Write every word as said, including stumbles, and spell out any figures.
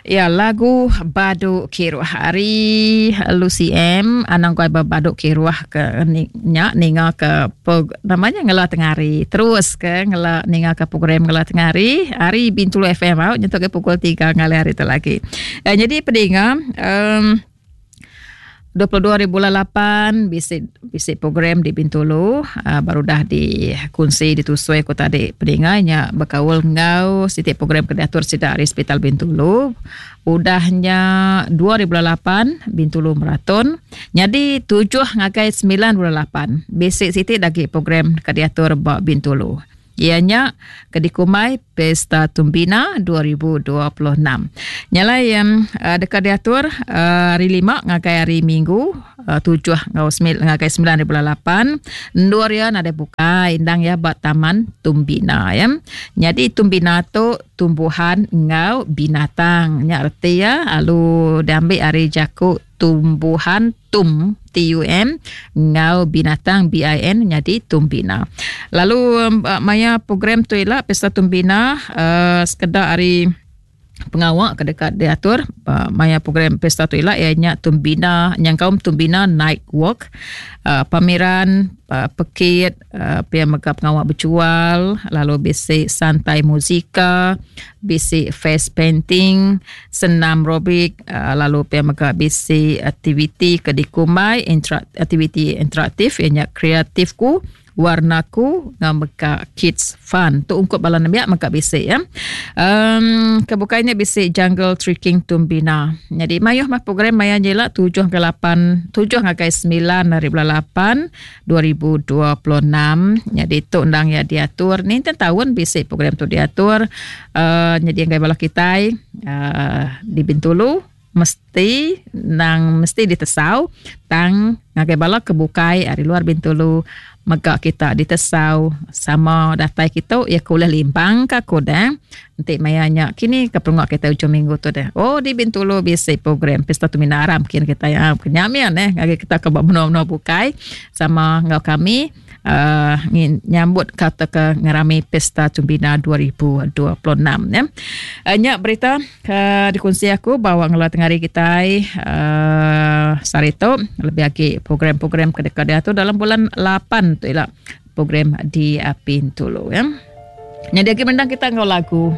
Ya lagu Badu Kiruh ari Lucy M anang guai badu kiruh ke nya ninga ke namanya ngela tengah hari terus ke ngela ninga ke program ngela tengah hari ari Bintulu F M au nyentuk ke pukul tiga ngalih hari tu lagi. Eh, jadi pedinga um, dua puluh dua hari bulan lapan bisi bisi program di Bintulu uh, baru dah dikunsi ditusui aku tadi pedinga nya berkaul ngau siti program ke diatur sida ari Hospital Bintulu. Udahnya dua ribu lapan Bintulu Marathon. Jadi tujuh ngagai sembilan bulan lapan bisi siti lagi program ke diatur ba Bintulu. Ianya ke dikumbai Pesta Tumbina dua ribu dua puluh enam. Nyalai yang uh, dekat diatur uh, hari lima ngagai hari Minggu uh, tujuh ngau sembilan ngagai sembilan ribu lapan. Endur ya nadai buka indang ya ba Taman Tumbina ya. Jadi Tumbina tu tumbuhan ngau binatang. Nya reti ya alu diambil ari jaku tumbuhan tum T U M ngau binatang B I N jadi Tumbina. Lalu um, maya program tu ila Pesta Tumbina uh, sekedar hari pengawak ke dekat diatur uh, maya program Pesta tu ila ianya Tumbina nyangkaum Tumbina Night Walk, uh, pameran uh, pekit uh, pia mega pengawak berjual, lalu bisi santai muzika, bisi face painting, senam aerobik, uh, lalu pia mega bisi aktiviti ke dikumbai intera- aktiviti interaktif ianya kreatifku warnaku ngau mega kids fun. Tu ungkup bala nembiak mega bisi ya. Um, kebukainya bisi jungle trekking Tumbina. Jadi mayuh mah program maya nyela tujuh ke lapan, tujuh ngagai sembilan hari bulan lapan dua ribu dua puluh enam. Jadi tu undang ya diatur ni tahun bisi program tu diatur. Uh, jadi ngai bala kitai uh, di Bintulu mesti nang mesti ditesau tang ngagai bala kebukai ari luar Bintulu mega kita ditesau sama datai kita ya kuliah limpang ka kodang enti maya nya kini ke perungak kita ujung minggu tu deh. Oh di Bintulu bisi program Pesta Tumbina Aram kin kita ya kenyamian eh ngagai kita ke menua-menua bukai sama ngau kami uh, nyambut kata ke ngerami Pesta Tumbina dua ribu dua puluh enam ya. Uh, nya berita ke dikongsi aku bawa ngela tengah hari kita uh, sehari tu lebih lagi program-program ke dekat dia tu dalam bulan lapan tu ialah program di Bintulu ya. Jadi lagi mendang kita ngau lagu.